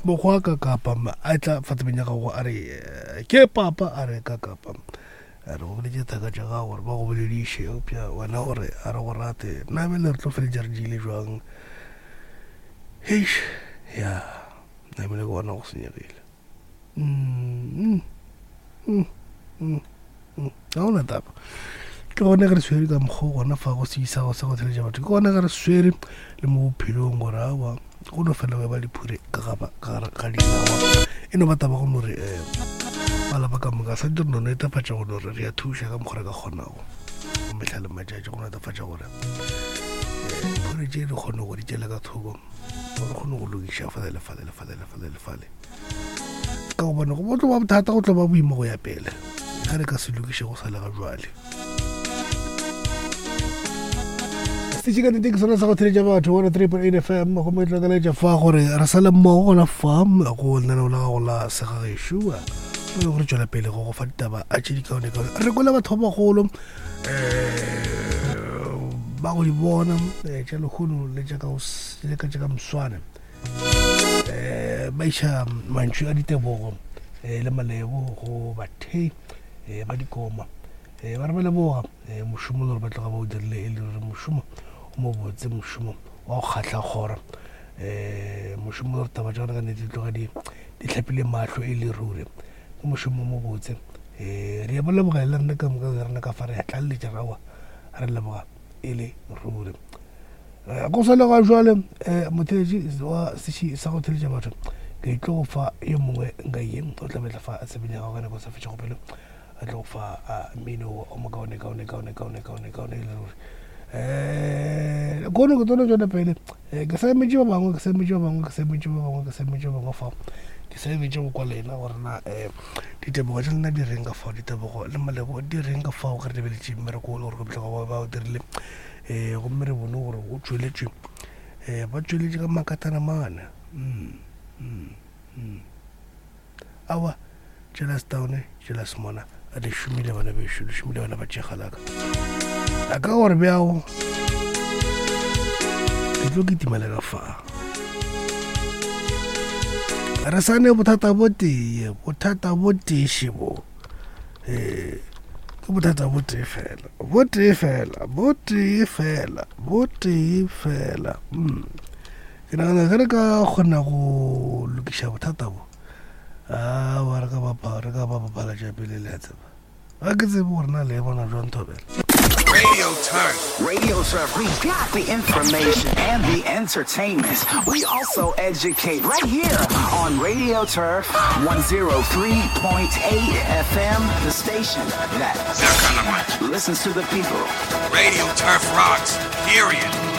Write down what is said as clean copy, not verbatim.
Mokgwa ka kapa a tla fa tsebeng ya gago a re eh, ke papa a re ka kapa a re go boletše thaka tša gago gore ba go bolediše eupša wena gore a re go rate nna bjale re tlo feletša re diile jwang heish ya namile ke bona go senyegile mm, mm, mm, mm. Ga gona taba ke gone ge re swere ka mokgwa gona fa go se isa go sa go theletša batho ke gone ge re swere le mo bophelong gore awa go no fela ba diphure ka gaba ka gare ga dinawa e no ba taba go no re um malapa ka moka sa dire no netefatša go no re re a thuša ka mokgwa re ka kgonago go mehla le matšatši go netefatša gore um phure tše di kgone go di tšela ka thoko gore kgone go lokiša fale le fale le fale le fale le fale ka gobane go tlo ba bothata go tlo ba boima go ya pele ge re ka se lokiše go sa le ga jwale setše ka nnete ke sona sa go theletša batho one 3.8 fm gomme tlo kaletša fa gore re sa le mmogo gona fa go lenaneo la gago la segagešo e le gore tšwela pele go go fa ditaba a tše dikaonekaone re kwele batho ba bagolo um ba go di bona eh, tša lehono le tša ka moswane um ba iša mantšu a ditebogo um le malebo go bathei um ba dikoma um ba re ba leboga um mošomo le gore ba tloga ba o dirile e le gore mošomo o mobotse mošomo wa go kgahla kgora um mošomo le gore taba tša gona ka nnete di tloga di hlapile mahlo e le ruri ke mošomo o mobotse um re ya ba leboga le rena ka moka rena ka fa re ya tlaleletša rawa re leboga e le ruri Eh, go sa le ga jwale um eh, motheletši wa seši sa go theletša batho ke tlo go fa yo mongwe nka ye o tla betla fa a tsebeng ya gago ka nako sa fetšego pelo a tlo go fa mmino o mokaone kaone kaone kaone kaone kaone e le ruri um kono ke tsone tsone pele ke sa emetše ba bangwe ke sa emetše ba bangwe ke sa emetše ba bangwe ke sa emetše ba bangwe fao ke sa emetše go kwa lena gore na um ditebogo tša lena di reng ka fao ditebogo le malebo di reng ka fao ge re lebeletše mmereko o le gore ke bohlokwa ba o dirile um gomme re bone gore o tšweletšwe um ba tšweletše ka makatana mane mm, mm, mm. awa jealous down jealous mona a le šomile bana bešo le šomile bana ba tšegalaka a ka gore bjao ke tlo kitimela ka fa re sa ne bothata bo tee bothata bo tee šebo ee ke bothata bo tee fela bo tee fela bo tee fela bo tee fela mm. Ke nagana ge re ka kgona go lokiša bothata bo awa re ka bapa re ka ba bapala tša pele le a tseba ga ke tsebe gore na le e bona jwang thobela. Radio Turf. Radio Turf, we got the information and the entertainment. We also educate right here on Radio Turf 103.8 FM, the station that listens to the people. Radio Turf rocks, period.